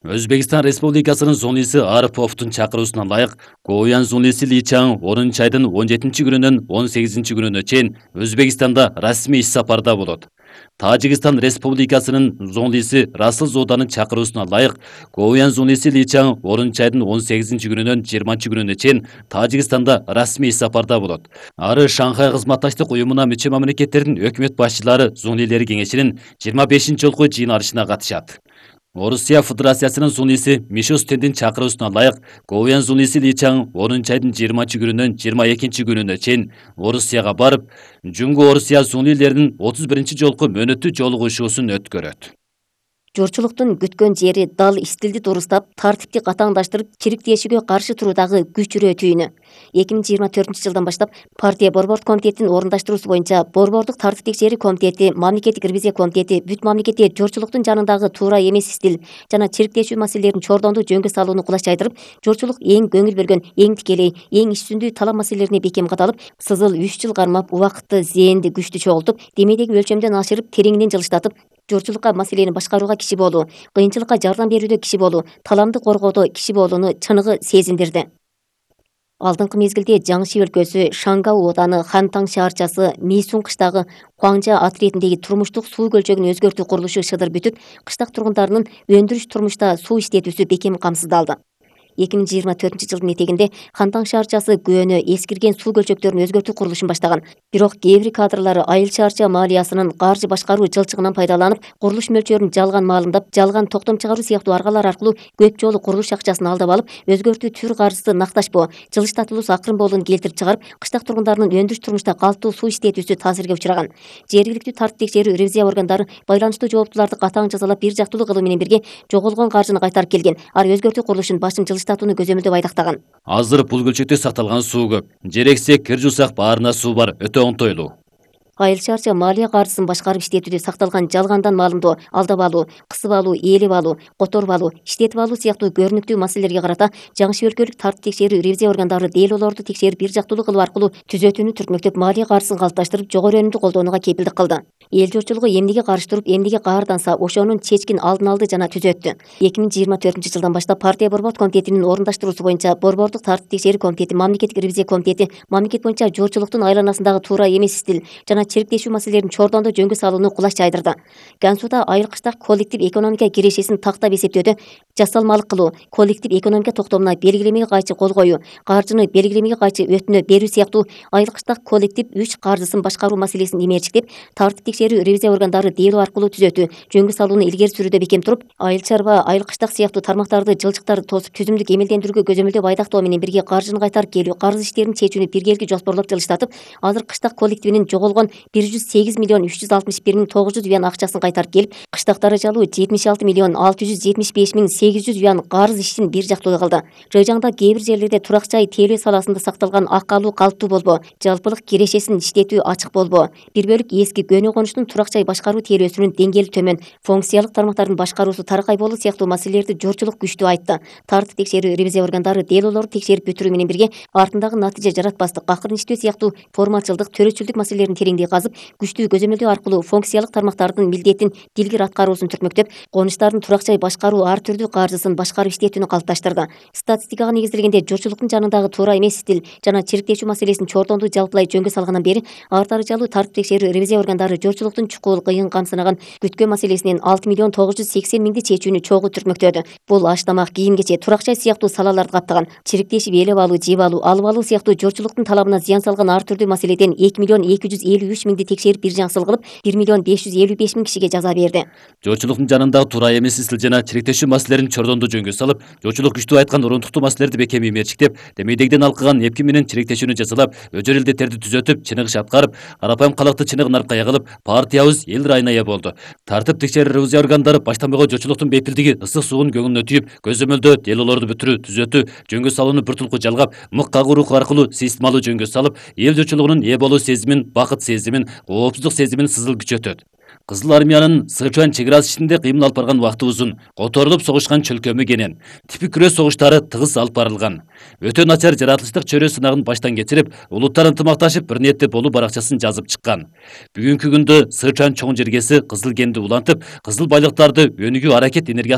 Өзбекстан Республикасынын зонлиси Ариповдун чакыруусуна ылайык Говян зонлиси Ли Чаң 10 айдын 17-күнүнөн 18-күнүнө чейин Өзбекстанда расмий иш сапарда болот. Тажикстан Республикасынын зонлиси Расыл Зоданын чакыруусуна ылайык Говян зонлиси Ли Чаң 10 айдын 18-күнүнөн 20-күнүнө чейин Тажикстанда расмий иш сапарда болот. Ары Шанхай кызматташтык уюмуна мүчө мамлекеттердин өкмөт башчылары зонлилери кеңешинин 25-жолку жыйналышына катышат. Орусия Федерациясынын зонлиси Мишо Стендин чакыруусуна ылайык Говян зонлиси Ли Чаң 10 айдын 20-күнүнөн 22-күнүнө чейин Орусияга барып, Жунгу Орусия зонлилеринин 31-жолку мөөнөттүү жолугушуусун өткөрөт. Журчулуктун күткөн жери дал истилди дурустап, тартипти катаңдаштырып, чириктешүүгө каршы туруудагы күчүрөө түйүнү. 2024-жылдан баштап партия борбордук комитетинин орундаштыруусу боюнча Борбордук тартип текшерүү комитети, мамлекеттик ревизия комитети бүт мамлекетте журчулуктун жанындагы туура эмес истил жана чириктешүү маселелерин чордондуу жөнгө салууну кулаш жайдырып, журчулук эң көңүл бөлгөн, эң тикелей, эң иш-жүзүндүү талап маселелерине бекем кадалып, сызыл 3 жыл кармап, убакытты, зээнди күчтү чогултуп, демейдеги өлчөмдөн ашырып, тереңинен жылыштатып, журчулукка маселени башкарууга киши болуу, кыйынчылыкка жардам берүүдө киши болуу, таламды коргоодо киши болууну чыныгы сезиндирди. Алдыңкы мезгилде Жаңши өлкөсү, Шангау ооданы, Хантаң шаарчасы, Мийсун кыштагы Хуаңжа атретиндеги турмуштук суу көлчөгүн өзгөртүү курулушу шыдыр бүтүп, кыштак тургундарынын өндүрүш турмушта суу иштетүүсү бекем камсыздалды. 2024-жылдын этегинде Хантаң шаарчасы көөнө эскирген суу көлчөктөрүн өзгөртүү курулушун баштаган. Бирок кээ бир кадрлары айыл шаарча малыясынын каржы башкаруу жылчыгынан пайдаланып, курулуш мөлчөрүн жалган маалымдап, жалган токтом чыгаруу сыяктуу аргалар аркылуу көп жолу курулуш акчасын алдап алып, өзгөртүү түр каржысы накташпоо, жылыштатылуусу акырын болууну келтирип чыгарып, кыштак тургундарынын өндүрүш турмушта калктуу суу иштетүүсү таасирге учураган. Жергиликтүү тартип текшерүү ревизия органдары байланыштуу жооптуларды катаң жазалап, бир жактуулуу кылуу менен бирге жоголгон каржыны кайтарып келген. Ар өзгөртүү курулушун башын жылыштатууну көзөмөлдөп айдактаган. Азыр бул көлчөктө сакталган суу көп. Жерексек, кир жусак баарына суу бар, өтө оңтойлуу. Айыл шаарча малия каржысын башкарып иштетүүдө сакталган жалгандан маалымдоо, алдап алуу, кысып алуу, ээлеп алуу, которуп алуу, иштетип алуу сыяктуу көрүнүктүү маселелерге карата Жаңши өлкөлүк тартип текшерүү ревизия органдары делолорду текшерип, бир жактуулуу кылуу аркылуу түзөтүүнү түртмөктөп, малия каржысын калыпташтырып, жогору өнүмдү колдонууга кепилдик кылды. Эл журтчулугу эмнеге каршы туруп, эмнеге каарданса, ошонун чечкин алдын алды жана түзөттү. 2024-жылдан баштап партия борбордук комитетинин орундаштыруусу боюнча Борбордук тартип текшерүү комитети, мамлекеттик ревизия комитети мамлекет боюнча журтчулуктун айланасындагы туура эмес истил жана чириктешүү маселелерин чордондо жөнгө салууну кулаш жайдырды. Гансуда айыл кыштак коллектив экономика кирешесин тактап эсептөөдө жасалмалык кылуу, коллектив экономика токтомуна белгилемеге кайчы кол коюу, каржыны белгилемеге кайчы өтүнө берүү сыяктуу айыл кыштак коллектив 3 каржысын башкаруу маселесин имээрчиктеп, тартип текшерүү ревизия органдары дело аркылуу түзөтүү, жөнгө салууну илгери сүрүүдө бекем туруп, айыл чарба, айыл кыштак сыяктуу тармактарды, жылчыктарды тосуп, түзүмдүк эмелдендирүүгө көзөмөлдөп айдактоо менен бирге каржыны кайтарып келүү, карыз иштерин чечүүнү биргелги жоспорлоп жылыштатып, азыр кыштак коллективинин жоголгон 108.361.900 юан акчасын кайтарып келип, кыштак даражалуу 76.675.800 юан карыз ишин бир жактуулуу кылды. Жыйжаңда кээ бир жерлерде турак жай тейлөө саласында сакталган акалуу калктуу болбоо, жалпылык кирешесин иштетүү ачык болбоо, бир бөлүк эски көнө конуштун турак жай башкаруу тейлөөсүнүн деңгээли төмөн, функциялык тармактардын башкаруусу таркай болуу сыяктуу маселелерди журтчулук күчтүү айтты. Тартип текшерүү ревизия органдары делолорду текшерип бүтүрүү менен бирге артындагы натыйжа жаратпастык, акырынчтөө сыяктуу формалчылдык, төрөчүлдүк маселелерин тереңдей казып, күчтүү көзөмөлдөө аркылуу функциялык тармактардын милдетин дилгир аткаруусун түртмөктөп, конуштардын турак жай башкаруу ар түрдүү каржысын башкарып иштетүүнү калыпташтырды. Статистикага негизделгенде журтчулуктун жанындагы туура эмес стил жана чириктешүү маселесин чордондуу жалпылай жөнгө салгандан бери ар даражалуу тартип текшерүү ревизия органдары журтчулуктун чукул, кыйын камсынаган күткөн маселесинен 6.980.000 чечүүнү чогуу түртмөктөдү. Бул аш тамак, кийим кече, турак жай сыяктуу салаларды каптаган. Чириктешип ээлеп алуу, жеп алуу, алып алуу сыяктуу журтчулуктун талабына зыян салган ар түрдүү маселеден 2.253.000 текшерип бир жаңсыл кылып, 1.555.000 кишиге жаза берди. Журтчулуктун жанындагы туура эмес истил жана чириктешүү маселелерин чордондуу жөнгө салып, журтчулук күчтүү айткан урундуктуу маселелерди бекем имээрчиктеп, демейдегиден алкыган эпки менен чириктешүүнү жасалап, өжөр элдеттерди түзөтүп, чыныгыш аткарып, карапайым калкты чыныгын аркая кылып, партиябыз эл ырайына ээ болду. Тартип текшерүү ревизия органдары баштан буйга журтчулуктун бейпилдиги ысык суунун көңүлүнө түйүп, көзөмөлдөө, делолорду бүтүрүү, түзөтүү, жөнгө салууну бир тулку жалгап, мык кагуу руху аркылуу системалуу жөнгө салып, эл журтчулугунун ээ болуу сезимин, бакыт сезимин, коопсуздук сезимин сызыл күчөтөт. Кызыл армиянын Сычуан чек ара ичинде кыймыл алып барган убакыты узун, которулуп согушкан чөлкөмү кенен, типик күрөш согуштары тыгыз алып барылган. Өтө начар жаратылыштык чөрөө сынагын баштан кечирип, улуттар ынтымакташып бир ниетте болуу баракчасын жазып чыккан. Бүгүнкү күндө Сычуан чоң жергеси кызыл кенди улантып, кызыл байлыктарды өнүгүү аракет энергиясына